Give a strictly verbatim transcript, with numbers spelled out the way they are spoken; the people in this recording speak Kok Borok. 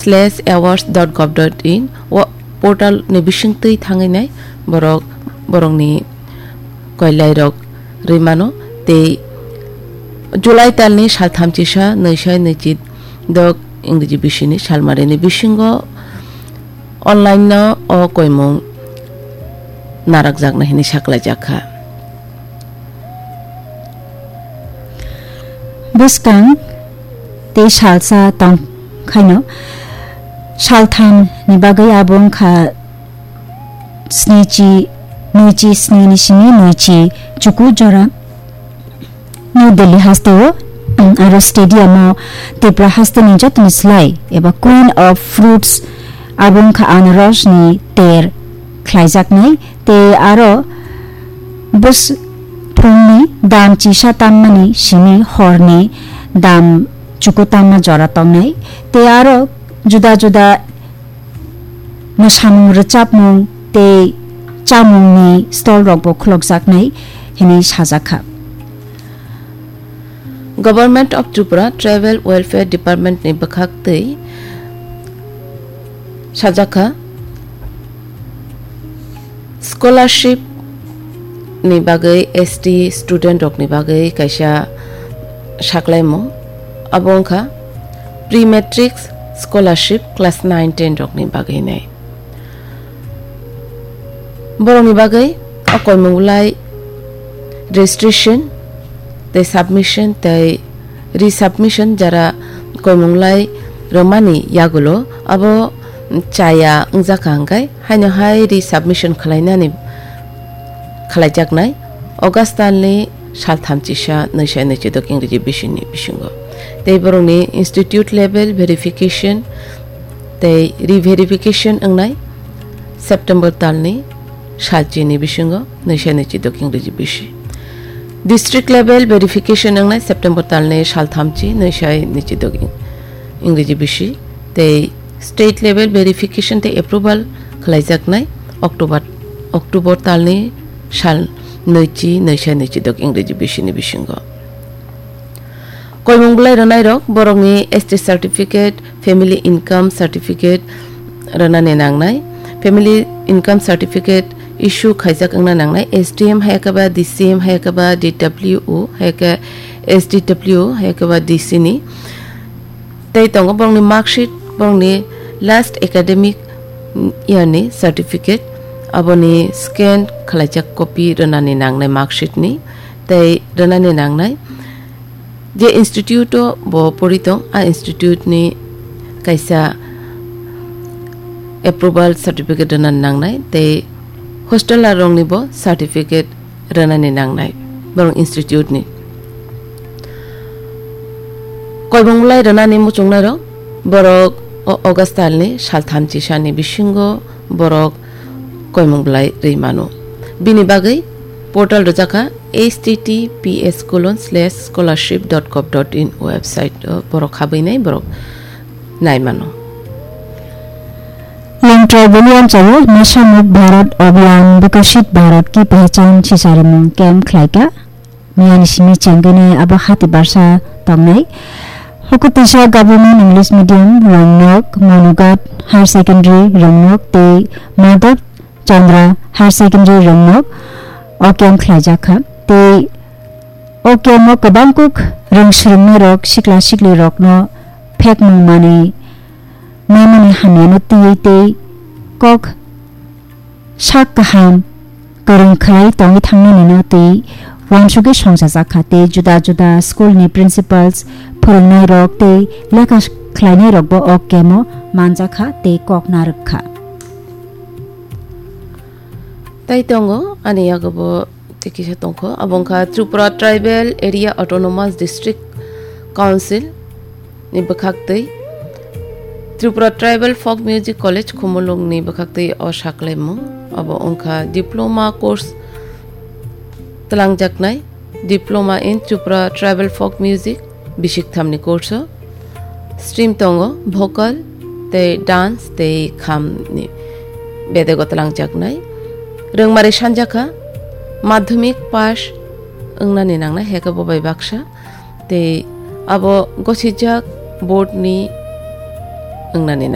slash awards dot gov dot in o portal ni bisingtwi thangwi nai borok borokni koilairok rwi mano tei July talni saltham chisa nwi sai nwi chi dok Ingreji bisini salmarini bisingo online no o koimung narakjakna hini saklaijak kha. Bwskang tei salsa tong khaino saltham ni bagwi abo wngkha snichi, nwichi sni ni simi nwichi chuku jora New Delhi hasteo, um, aro stadium o Tripura hasteni jotoni slai eba Queen of Fruits abo wngkha anaros ni ter khlaijaknai tei aro bus phungni dam chisa tammani simi horni dam chuku tamma jora tongnai tei aro juda juda mwsamung rwchapmung tei chamungni stall rokbo khulokjaknai hwnwi sajakha. Government of Tripura Tribal Welfare Department ni bwkhak twi sajakha, scholarship ni bagwi S T student rok ni bagwi kaisa saklaimung, abo wngkha pre matric scholarship class nine ten rok ni bagwi nai. Borokni bagwi o koimung bulai registration tei submission tei resubmission jara koimung bulai rwmani yagulo abo chaya wngjakha hwnkhe haino hai resubmission khwlainani khwlaijaknai August talni saltham chisa nwi sai nwi chidok Ingreji bisini bisingo. Tei borokni institute level verification tei re-verification wngnai September talni salchini bisingo nwi sai nwi chidok Ingreji bisi. District level verification wngnai September talni salthamchi nwi sai nwi chidok Ing-, Ingreji bisi. Tei state level verification tei approval khwlaijaknai October, October talni sal nwichi nwi sai nwi chidok Ingreji bisini bisingo. Koimung bulai rwnairok borokni S T certificate, family income certificate rwnani nangnai. Family income certificate issue khaijak wngna nangnai S D M hai khe ba D C M hai khe ba D W O hai khe S D W O hai khe ba D C ni. Tei tongo borokni mark sheet, borokni last academic year ni certificate, aboni scan khwlaijak copy rwnani nangnai mark sheet ni, tei rwnani nangnai je institute o bo pori tong, a institute ni kaisa approval certificate rwnani nangnai, tei hostel rokni bo certificate rwnani nangnai borok institute ni. Koimung bulai rwnani muchungnairok borok o August talni saltham chisani bisingo borok koimung bulai rwi mano. Bini bagwi portal rwjakha H T T P S colon slash scholarship dot gov dot in website o borok habwi nai borok nai mano. Long Tribal William Chawo Nasha Mukt Bharat Abhiyan Viksit Bharat Ki Pehchan sisarimung camp khlaika. Miyani simi chengkene abo hati barsa tongnai. Hokotisa Government English Medium Rongnok, Monughat Higher Secondary Rongnok tei Madhab Chandra Higher Secondary Rongnok o camp khlaijakha. Tei o camp o kwbangkuk rwngswrwngnairok sikla siklirokno phekmung manwi naimani hamyano twiwi tei kok sak kaham kwrwng khlai tongwi thangnanino tei uansugwi songchajakha tei juda juda school ni principals, phwrwngnairok tei lekha khlainairokbo o camp o manjakha tei kok narwkkha. Tai tongo ani yago bo tei kisa tongkho, abo wngkha Tripura Tribal Area Autonomous District Council ni bwkhaktwi Tripura Tribal Folk Music College Khumulwng ni bwkhaktwi o saklaimung. Abo wngkha diploma course twlangjaknai, Diploma in Tripura Tribal Folk Music, bisikthamni course o stream tongo, vocal tei dance tei khamni bedego twlangjaknai. Rwngmari sanjakha madhyamik pass wngnani nangnai, heke bo bai baksa tei abo gosijak board ni wngnani